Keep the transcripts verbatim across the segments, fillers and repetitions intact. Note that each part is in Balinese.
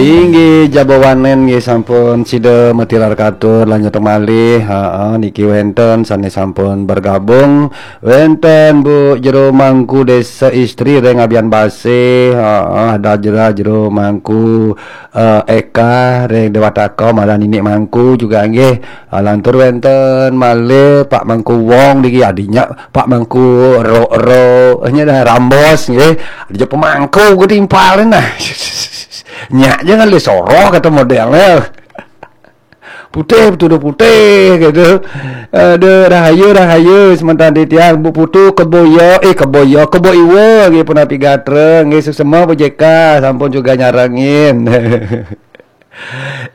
Inggih, jabawanen nggih sampun sida matilar katur, lanjut malih. Heeh, niki wenten sane sampun bergabung. Wenten Bu Jero Mangku Desa Istri ring Abian Base. Heeh, ada jera Jero Mangku, eh, Eka ring Dewataka, malah Ninik Mangku juga nggih. Ah, lantur wenten malih Pak Mangku Wong niki, adinya Pak Mangku Ro-, Ro-, nya dah Rambos nggih. Ada pemangku ketimpalin nah. Nyak jangan le soroh kata modelnya. Putih, betul putih gitu. Aduh, rahayu, rahayu, sementara di tiang Bu Putu keboyo, eh keboyo, kebo iwa nggih punapi gatra, nggih suksema Bu J K sampun juga nyarengin.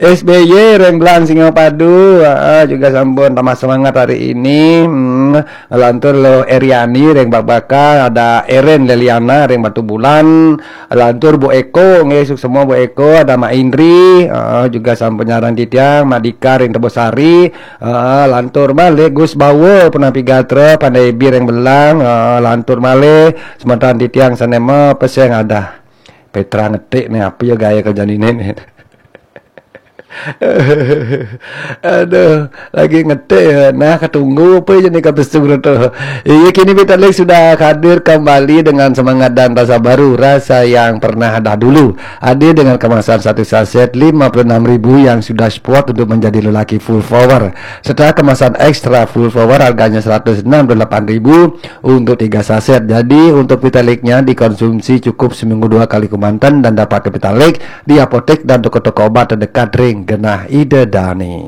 S B Y Remblang Singapadu, ah, juga sampun tambah semangat hari ini. Hmm, lantur lo Eriani Reng Bakbaka, ada Eren Leliana Reng Batu Bulan, lantur Bu Eko, nggih suksema Bu Eko, ada Mak Indri, ah, juga sampun nyarang titiang, Mak Dika Reng Tebosari, ah, lantur malih Gus Bawa punapi gatra, Pandai Bi Reng Belang, ah, lantur malih semeton titiang sanema peseng ada. Petra ngetik nih, apa ya gaya kerja ini nih? Aduh, lagi ngetik ya. Nah, ketunggu apa aja nih kata suruh tuh. Iya, kini Vitalik sudah hadir kembali dengan semangat dan rasa baru, rasa yang pernah ada dulu. Hadir dengan kemasan satu saset lima puluh enam ribu yang sudah support untuk menjadi lelaki full power. Setelah kemasan ekstra full power harganya seratus enam puluh delapan ribu untuk tiga saset. Jadi, untuk Vitaliknya dikonsumsi cukup seminggu dua kali kemanten dan dapat Vitalik di apotek dan toko-toko obat terdekat ring genah Ida Dani.